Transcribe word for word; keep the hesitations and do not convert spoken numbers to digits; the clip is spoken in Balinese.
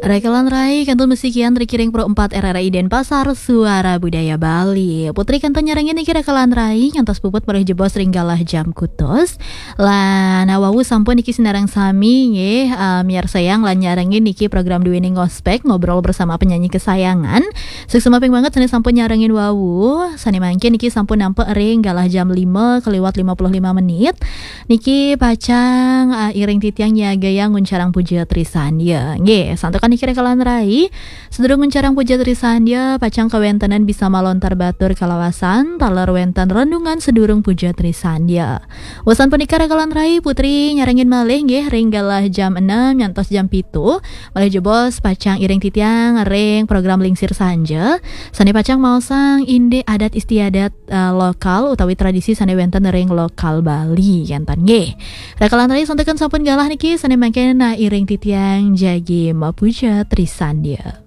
Rekalan rai kantun masikian ring Pro empat R R I Denpasar, Suara Budaya Bali. Putri kantun nyarengin niki rekalan rai ngantos puput malih jebos ring galah jam kutus. Lan wau sampun niki sinareng sami nggih, eh, miarsayang lan nyarengin niki program duene Ngospek, Ngobrol Bersama Penyanyi Kesayangan. Suksma ping banget sane sampun nyarengin wau. Sane mangkin niki sampun nampek ring galah jam lima kaliwat lima puluh lima menit. Niki pacang, ah, iring titiang nyagayang nguncarang puja trisandya. Nggih, santukan niki rekalan rai. Sedurung nguncarang puja trisandya, pacang kawentenan bisa malontar batur kalawasan, taler wenten renungan sedurung puja trisandya. Wusan punika rekalan rai, Putri nyarengin malih nggih ring galah jam enam ngantos jam pitu. Malih jebos pacang iring titiang ring program Lingsir Sanja. Sane pacang maosang indik adat istiadat, eh, lokal utawi tradisi sane wenten ring lokal Bali kenten nggih. Rekalan rai santukan sampun galah niki sane mangkin, nah, iring titiang jagi mapuja trisandya.